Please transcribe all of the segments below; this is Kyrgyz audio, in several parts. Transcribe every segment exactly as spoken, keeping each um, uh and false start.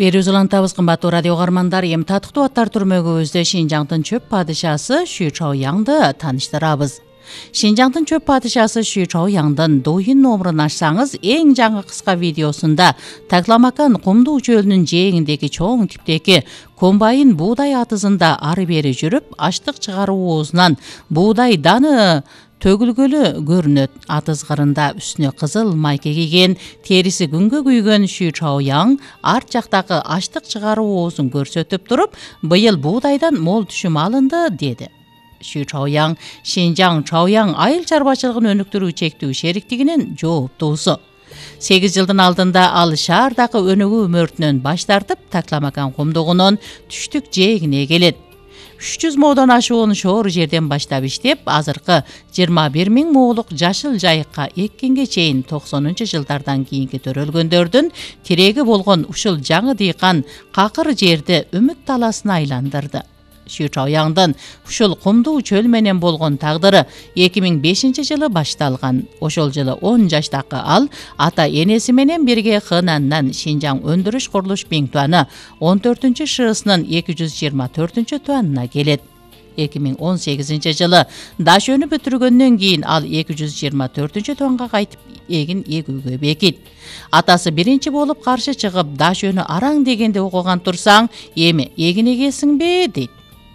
Берүү улантабыз кымбаттуу радио угармандар, эми татыктуу аттар түрмөгүбүздө Шинжаңдын чөп падышасы Шү Чаоянды тааныштырабыз. Шинжаңдын чөп падышасы Шү Чаояндын Дуйин номурун ачсаңыз, эң жаңы кыска видеосунда Такламакан кумдуу чөлүнүн жээгиндеги чоң типтеги комбайн буудай атызында ары бери жүрүп, аштык чыгаруу оозунан буудай даны төгүлгөлү көрүнөт. Атыз кырында үстүнө кызыл майка кийген, териси күнгө күйгөн Шү Чаоян арт жактагы аштык чыгаруу оозун көрсөтүп туруп, быйыл буудайдан мол түшүм алынды деди. Шү Чаоян Шинжаң Чаоян айыл чарбачылыгын өнүктүрүү чектүү шериктигинин жооптуусу. сегиз жылдын алдында ал шаардагы өнүгүү мөртүнөн баш тартып, Такламакан кумдугунун түштүк жээгине келет. үч жүз моодон ашуун шоор жерден баштап иштеп, азыркы жыйырма бир миң моолук жашыл жайыкка эккенге чейин токсонунчу жылдардан кийинки төрөлгөндөрдүн тиреги болгон ушул жаңы дыйкан какыр жерди үмүт таласына айландырды. Шү Чаояндын ушул кумдуу чөл менен болгон тагдыры эки миң бешинчи жылы башталган. Ошол жылы он жаштагы ал ата энеси менен бирге Хэнаннан Шинжаң өндүрүш курулуш биңтуаны он төртүнчү шыысынын эки жүз жыйырма төртүнчү туанына келет. эки миң он сегизинчи жылы Дашөнү бүтүргөндөн кийин ал эки жүз жыйырма төртүнчү туанга кайтып эгин эгүүгө бекит. Атасы биринчи болуп каршы чыгып, Дашөнү араң дегенде окуган турсаң, эми эгин эгесиңби дейт.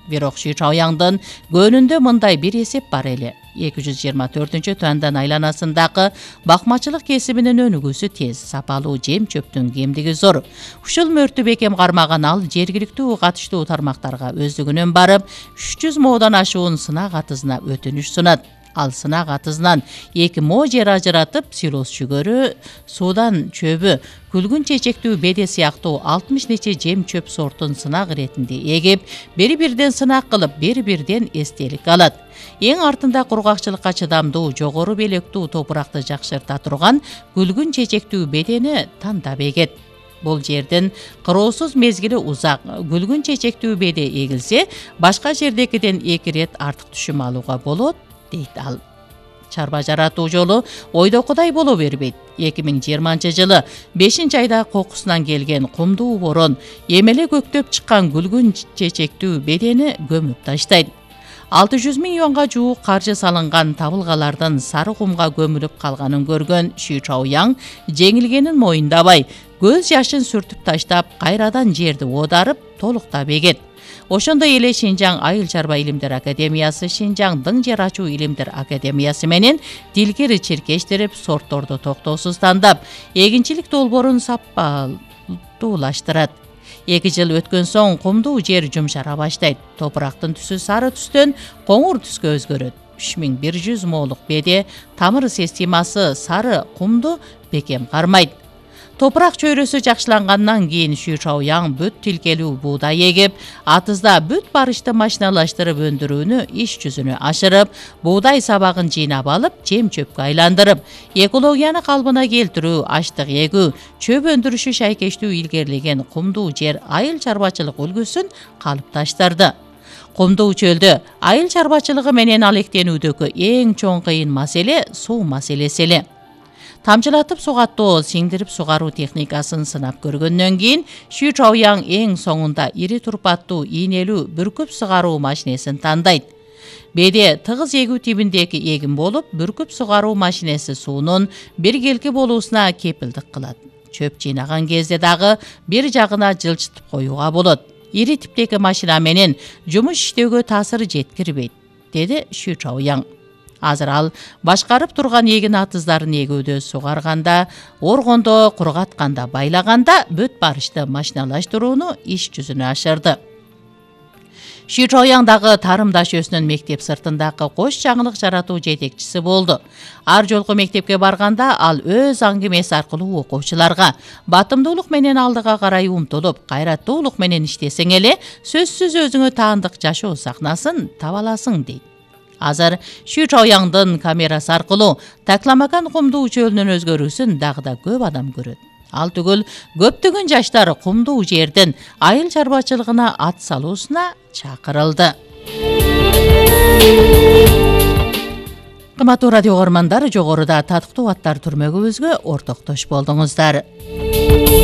Бирок Шү Чаояндын көнүндө мындай бир эсеп бар эле. эки жүз жыйырма төртүнчү туандан айланасындагы бакмачылык кесибинин өнүгүүсү тез, сапалуу жем чөптүн кемдиги зор. Ушул мөрттү бекем кармаган ал жергиликтүү катыштуу тармактарга өздүгүнөн барып, үч жүз моодон ашуун сынак атызына өтүнүш сунат. Ал сынак атызынан эки мо жер ажыратып, силос жүгөрү, суудан чөбү, күлгүн чечектүү беде сыяктуу алтымыш нече жем чөп сортун сынак иретинде эгип, бери-бирден сынак кылып, бери-бирден эстелик алат. Эң артында кургакчылыкка чыдамдуу, жогору белектүү топуракты жакшырта турган күлгүн чечектүү бедени тандап эгет. Бул жердин кыроосуз мезгили узак. Күлгүн чечектүү беде эгилсе, башка жердекиден эки ирет артык түшүм алууга болот, дейт ал. Чарба жаратуу жолу ойдокудай боло бербейт. эки миң жыйырманчы жылы бешинчи айда кокусунан келген кумдуу борон эмеле көктөп чыккан күлгүн чечектүү бедени көмүп таштайт. алты жүз миң юанга жуук каржы салынган табылгалардын сары кумга көмүлүп калганын көргөн Шү Чаоян жеңилгенин моюндабай, көз жашын сүртүп таштап, кайрадан жерди оодарып, толуктап эгет. Ошондой эле Шинжаң айыл чарба илимдер академиясы, Шинжаң дың жер ачуу илимдер академиясы менен дилгери чиркештирип, сортторду токтоосуз тандап, эгинчилик долбоорун сапаттуулаштырат. эки жыл өткөн соң кумдуу жер жумшара баштайт. Топурактын түсү сары түстөн коңур түскө өзгөрөт. үч миң бир жүз моолук беде, тамыр системасы сары кумду бекем кармайт. Топурак чөйрөсү жакшылангандан кийин Шү Чаоян бүт тилкелүү буудай эгип, атызда бүт барышты машиналаштырып өндүрүүнү иш жүзүнө ашырып, буудай сабагын жыйнап алып, жем чөпкө айландырып, экологияны калыбына келтирүү, аштык эгүү, чөп өндүрүшү шайкештүү илгерилеген кумдуу жер айыл чарбачылык үлгүсүн калыпташтырды. Кумдуу чөлдө айыл чарбачылыгы менен алектенүүдөгү эң чоң кыйын маселе суу маселеси эле. Тамчылатып сугаттоо, сиңдирип сугаруу техникасын сынап көргөндөн кийин Шү Чаоян эң соңунда ири турпаттуу ийнелүү бүркүп сугаруу машинесин тандайт. Беде тыгыз эгүү тибиндеги эгин болуп, бүркүп сугаруу машинеси суунун биргелки болуусуна кепилдик кылат. Чөп жыйнаган кезде дагы бир жагына жылжытып коюуга болот. Ири типтеги машина менен жумуш иштөөгө таасир жеткирбейт, деди Шү Чаоян. Азыр ал башкарып турган эгин атыздарын эгүүдө, сугарганда, оргондо, кургатканда, байлаганда бүт барышты машиналаштырууну иш жүзүнө ашырды. Шү Чаоян дагы тарым дашөсүнүн мектеп сыртындагы кош жаңылык жаратуу жетекчиси болду. Ар жолку мектепке барганда ал өз аңгемеси аркылуу окуучуларга батымдуулук менен алдыга карай умтулуп, кайраттуулук менен иштесең эле, сөзсүз өзүңө таандык жашоо сахнасын таба аласың дейт. Азыр Шү Чаояндын камерасы аркылуу Такламакан кумдуу чөлүнүн өзгөрүүсүн дагы да көп адам көрөт. Ал түгүл көптөгөн жаштар кумдуу жердин айыл чарбачылыгына ат салуусуна чакырылды. Кымбаттуу радио угармандар, жогоруда татыктуу аттар түрмөгүбүзгө ортоктош болдуңуздар.